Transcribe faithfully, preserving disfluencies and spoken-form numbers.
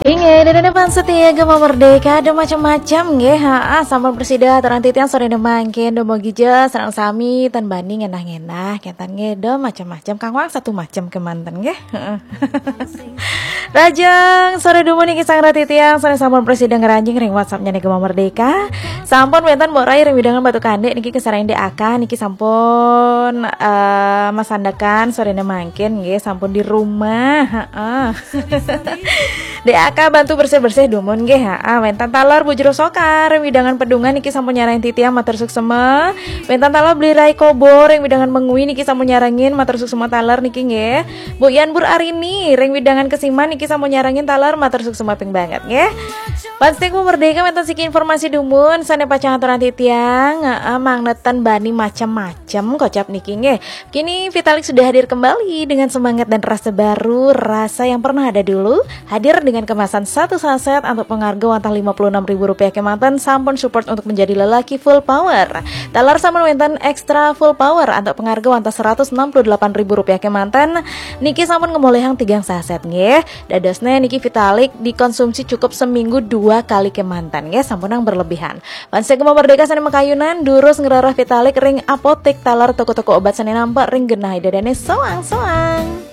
Inggih, ida dané fans setia Gema Merdeka, do macem-macem nggih, ha, sampun prasida aturang titiang soréné mangkin, do mugi ja sareng sami tan bani ngenah-ngenah, kénten nggih, do macem-macem, kangwang satu macem kémanten nggih. Heeh. Rahajeng soré dumun niki sareng titiang, soréné sampun prasida ngranjing ring WhatsApp-nyané Gema Merdeka. Sampun wénten Mbok Rai ring wewidangan Batu Kandik niki kasarengin Dék Aka niki sampun, eh, masandekan soréné mangkin nggih, sampun di rumah. Heeh. Dék Aka bantu bersih-bersih dumun nggih. Heeh, wénten taler Bu Jero Soka ring wewidangan Pedungan niki sampun nyarengin titiang, matur suksma. Wénten taler Bli Rai Kobo ring wewidangan Mengwi niki sampun nyarengin, matur suksma taler niki nggih. Bu Yan Bur Arini ring wewidangan Kesiman niki sampun nyarengin taler, matur suksma ping banget nggih. Fans setia Gema Merdeka, wénten siki informasi dumun sané pacang aturang titiang, heeh, mangda tan bani macem-macem kocap niki nggih. Kini Vitalik sudah hadir kembali dengan semangat dan rasa baru, rasa yang pernah ada dulu, hadir dengan kemasan satu saset antuk pangarga wantah lima puluh enam ribu rupiah kémanten, sampun support untuk menjadi lelaki full power. Taler sampun wénten extra full power antuk pangarga wantah seratus enam puluh delapan ribu rupiah kémanten, niki sampun ngamolihang tigang saset nggih. Dadosné niki Vitalik dikonsumsi cukup seminggu dua kali kémanten nggih, sampunang berlebihan. Fans setia Gema Merdeka sané makayunan, durus ngrereh Vitalik ring apotik taler toko-toko obat sané nampek ring genah ida dané soang-soang.